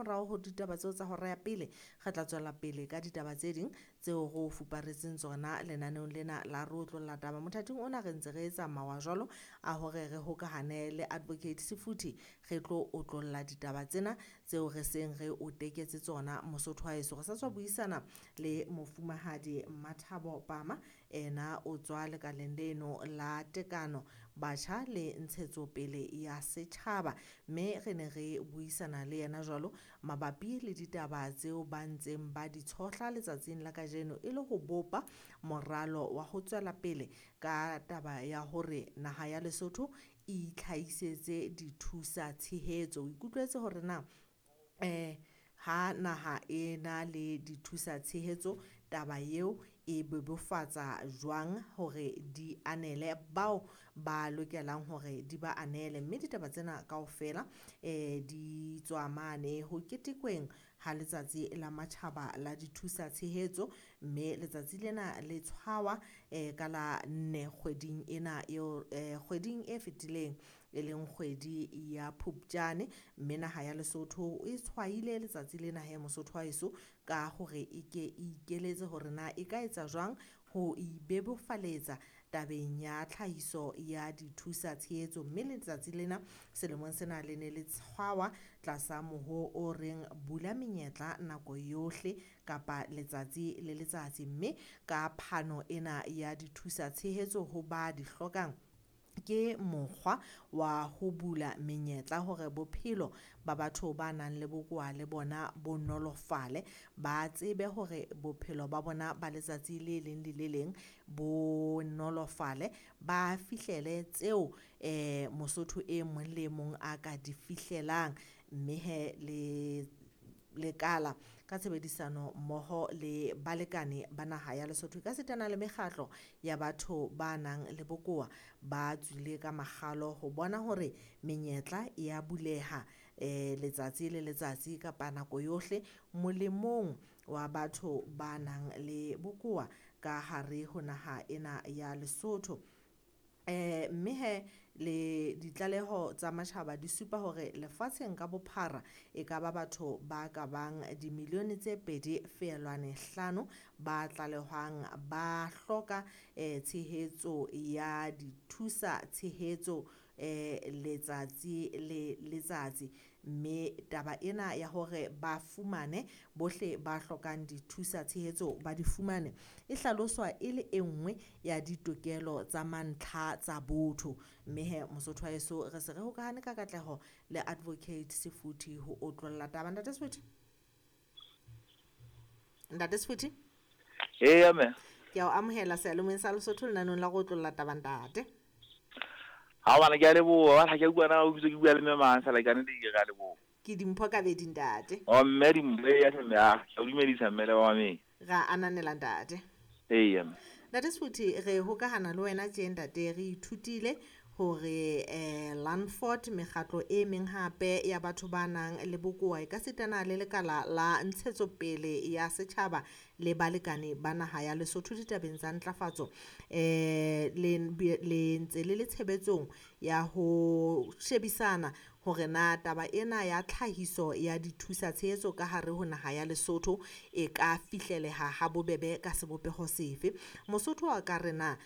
Ka morao ho ditaba tseo tsa hora ya pele, re tla tswela pele ka ditaba tse ding tseo re o fuparetseng tsona lenaneong lena la Re Otlolla Taba. Mothating ona re ntse re etsa mawa jwalo a hore re hokahane le Advocate Sefuthi, re tlo otlolla ditaba tsena tseo re seng re o teketse tsona. Mosotho wa heso, re sa tswa buisana le mofumahadi Mathabo Pama, ena o tswa lekaleng leno la tekano, batjha le ntshetsopele ya setjhaba, mme re ne re buisana le yena jwalo mabapi le ditaba tseo ba ntseng ba di tshohla letsatsing la kajeno e le ho bopa moralo wa ho tswela pele ka taba ya hore naha ya Lesotho e itlhahisetse dithusa tshehetso. O ikutlwetse hore na ha naha e na le dithusa tshehetso, taba eo e bebofatsa jwang hore di anele bao ba lokelang hore di ba anele, mme ditaba tsena kaofela di tswa mane ho ketekweng ha letsatsi la matjhaba la dithusa tshehetso, mme letsatsi lena le tshwawa ka la 4 kgweding ena eo, kgweding e fetileng e leng kgwedi ya Phupjane. Mme naha ya Lesotho e tshwaile letsatsi lena he, Mosotho wa heso, ka hore e ke e ikeletse hore na e ka etsa jwang ho ibebofaletsa tabeng ya tlhahiso ya dithusa tshehetso. Mme letsatsi lena selemong sena le ne le tshwawa tlasa moho o reng bula menyetla nako yohle kapa letsatsi le letsatsi, mme ka phano ena ya dithusa tshehetso ho ba di hlokang ke mokgwa wa ho bula menyetla hore bophelo ba batho ba nang le bokowa le bona bo nolofale, ba tsebe hore bophelo ba bona ba letsatsi le leng le le leng bo nolofale, ba fihlele tseo Mosotho e mong le mong a ka di fihlelang. Mme he le lekala ka tshebedisano mmoho le balekane ba naha ya Lesotho ka sitana le mekgatlo ya batho ba nang le bokowa ba tswile ka makgalo ho bona hore menyetla e ya buleha letsatsi le letsatsi kapa nako yohle molemong wa batho ba nang le bokowa ka hare ho naha ena ya Lesotho. Mme he le ditlaleho tsa matjhaba di supa hore lefatsheng ka bophara e ka ba batho ba ka bang dimilione tse 2.5 ba tlalehwang ba hloka tshehetso ya dithusa tshehetso letsatsi le letsatsi. Mme taba ena ya hore ba fumane bohle ba hlokang dithusa tshehetso ba di fumane e hlaloswa e le e nngwe ya ditokelo tsa mantlha tsa botho. Mme he Mosotho wa heso, re se re hokahane ka katleho le Advocate Sefuthi ho otlolla taba. Ntate Sefuthi, Ntate Sefuthi. Eya mme. Ke a o amohela seyalemoyeng sa Lesotho lenaneong la go otlolla taba, ntate. Ha bana, ke a leboha. Ha ke bua na o bitse ke bua le mme mang fela, ka nnete ke re a leboha. Ke Dimpho Kabedi, ntate. O mme Dimpho, eya mme, a ke o dumedisa mme le ba mameng. Ra ananela, ntate. Eya mme. Ntate Sefuthi, re hokahana le wena tje ntate, re ithutile hore Landford, mekgatlo e meng hape ya batho ba nang le bokowa e ka sitana le lekala la ntshetsopele ya setjhaba le balekane ba naha ya Lesotho ditabeng tsa ntlafatso le ntse le le tshebetsong ya ho shebisana hore na taba ena ya tlhahiso ya dithusa tshehetso ka hare ho naha ya Lesotho e ka fihleleha ha bobebe ka sebopeho sefe. Mosotho a ka re na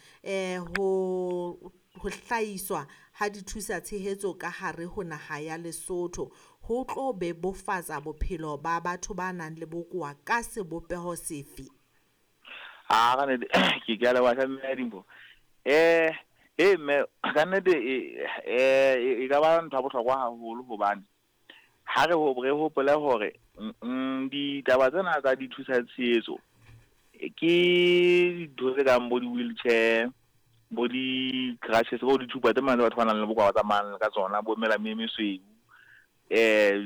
ho hlahiswa ha dithusa tshehetso ka hare ho naha ya Lesotho ho tlo bebofatsa bophelo ba batho ba nang le bokowa ka sebopeho sefe? A ka nnete ke a leboha mme Dimpho. Mme ka nnete e ka ba ntho ya bohlokwa haholo, hobane ha re hopole hore ditaba tsena tsa dithusa tshehetso ke dintho tse kang bo di-wheelchair, bo di-crutches, bo dithupa tse mane tse batho ba nang le bokowa ba tsamayang ka tsona, bo melamu e mesweu,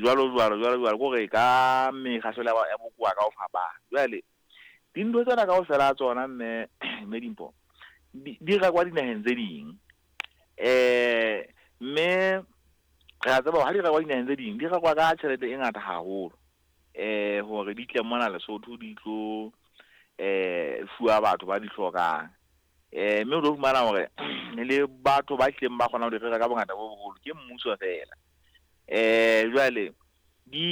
jwalo jwalo jwalo jwalo, ke hore ka mekgahlelo ya bokowa ka ho fapana. Jwale dintho tsena kaofela tsona mme Dimpho di rekwa dinaheng tse ding, mme re a tseba hore ha di rekwa dinaheng tse ding di rekwa ka tjhelete e ngata haholo, hore di tle mona Lesotho di tlo fuwa batho ba di hlokang. Mme o tlo fumana hore le batho ba hlileng ba kgona ho di reka ka bongata bo boholo ke mmuso fela. Jwale di